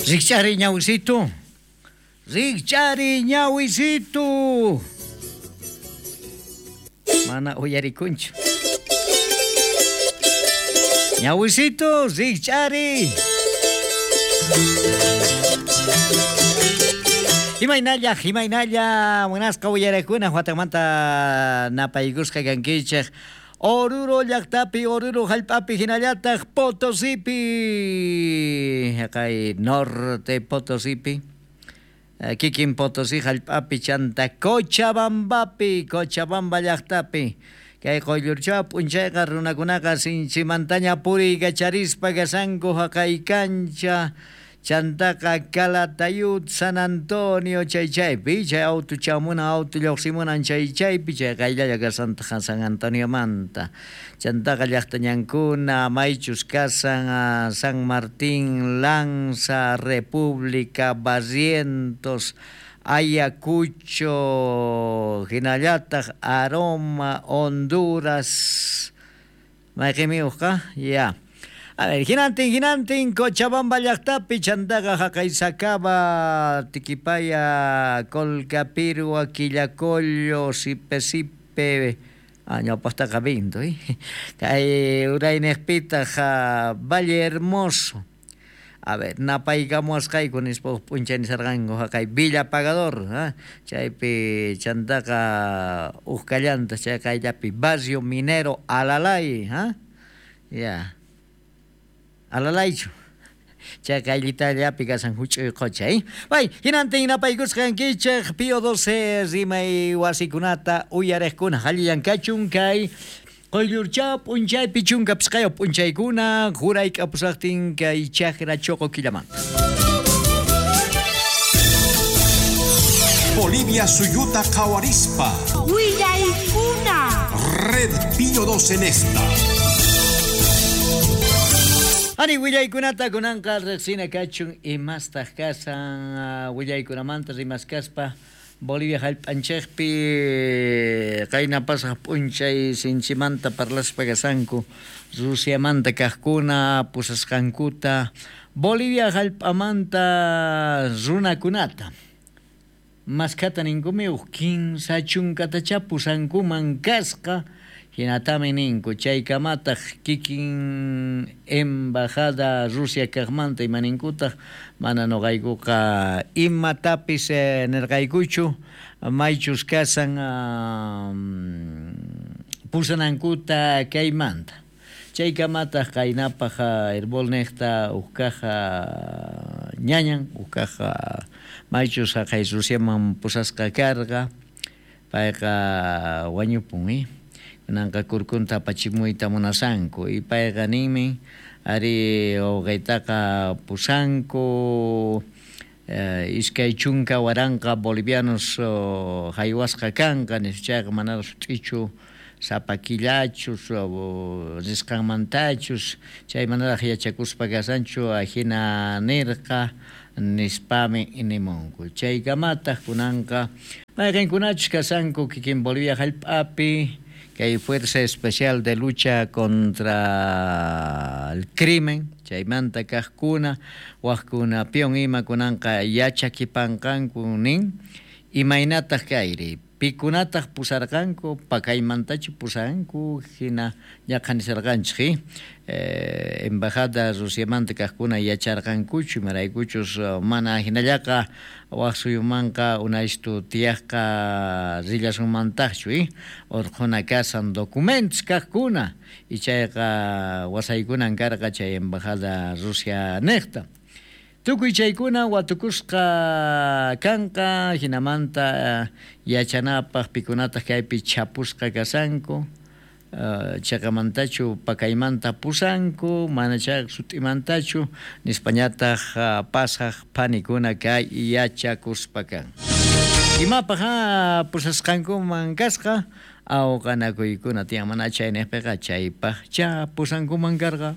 Rikch'ariy ñawisitu. Rikch'ariy ñawisitu. Mana uyarikunchu. Ñawisitu, rikch'ariy. Imaynalla, imaynalla, munasqa uyarakuna watamanta napaykusqa kankichej. Oruro llaqtapi, Oruro hallp'api hinallataq Potosipi. Haqay norte Potosipi. Kikin Potosí hallp'api chanta Cochabambapi, Cochabamba llaqtapi. Kay quyllurchaw p'unchayqa runakunaqa sinchimantaña puriykacharispa kashanku haqay kancha chantaqa Calatayud, San Antonio chay chaypi, chay auto chamunan, auto lluqsimunan chay chaypi, chay qayllalla kasantaq San Antoniomanta. Chantaqa llaqta ñankuna, maychus kasan San Martín, Lanza, República, Barrientos, Ayacucho, hinallataq Aroma, Honduras. Mayqinmi uqqa? Ya. A ver, hinantin, hinantin, Cochabamba llaqtapi, chantaqa haqay Sacaba, Tiquipaya, Colcapirhua, Quillacollo, Sipe Sipe, ñawpaqtaqa Vinto, kay urayniqpitaq Valle Hermoso. A ver, napaykamuwasqayku nispa huk p'unchay nisarqanku haqay Villa Pagador, chaypi chantaqa huk kallantaq chay qayllapi Barrio Minero Alalay, ya. Alalaychu. Chay qayllitallapi kashan huch'uy qocha, Bay, hinantin napaykusqa kankichej Pío 12 rimay wasikunata uyariqkuna allillan kachun kay quyllurchaw p'unchaypi 15 p'unchaykuna jurayk'apusaqtin kay chakra choqo killamanta. Bolivia suyuta qhawarispa. Willaykuna. Red Pío 12 en esta. Ani willaykunata kunanqa riqsina kachun imastaq kasan willaykunamanta rimaskaspa Bolivia hallp'anchikpi qayna pasaq p'unchay sinchimanta parlaspa kasanku Rusiamanta kaqkuna pusasqankuta Bolivia hallp'amanta runakunata maskhata ninkumi huk 30 pusankuman kasqa. Hinatami ninku chaykamataq kikin embajada Rusia kaqmanta imaninkutaq mana nuqaykuqa imatapis nirqaykuchu maychus kasan pusanankuta kaymanta. Chaykamataq qaynapaq Herbol niqta huk kaq ñañan huk kaq maychus haqay Rusiaman pusasqa karqa payqa wañupun kunanqa kurkunta apachimuyta munasanku y payqa ninmi ari wawqiytaqa pusanku 20,000 bolivianos haywasqa kanqa nispa chayqa manaraq sut'ichu sapa killachus risqanmantachus chay manaraq yachakuspa kasanchu ajina nirqa nispami nimunku. Chaykamataq kunanqa mayqinkunachus kasanku kikin Bolivia hallp'api kay Fuerza Especial de Lucha contra el Crimen, chaymanta kaqkuna, waqkuna pion ima kunanqa yachakipanqanku nin, imaynataq kayri, pikunataq pusarqanku, pakaymantachu pusanku, hina ñaqhanisarqanchik, embajada Rusiamanta kaqkuna yacharqankuchu, imaraykuchus mana hinallaqa waq suyumanqa unaystu tiyaqqa rillasunmantaqchu, urqhuna kasan documentos kaqkuna, y chayqa wasaykunan karqa chay embajada Rusia niqta. Tukuy chaykuna watukusqa kanqa hinamanta yachanapaq pikunataq kaypi chapusqa kasanku chaqamantachu pakaymanta pusanku mana chayqa sut'imantachu nispañataq pasaq phanikuna kay yachakuspa kan. Imapaq pusasqankuman kasqa awqanakuykuna tiyan mana chayniqpiqa chaypaq cha pusankuman karqa.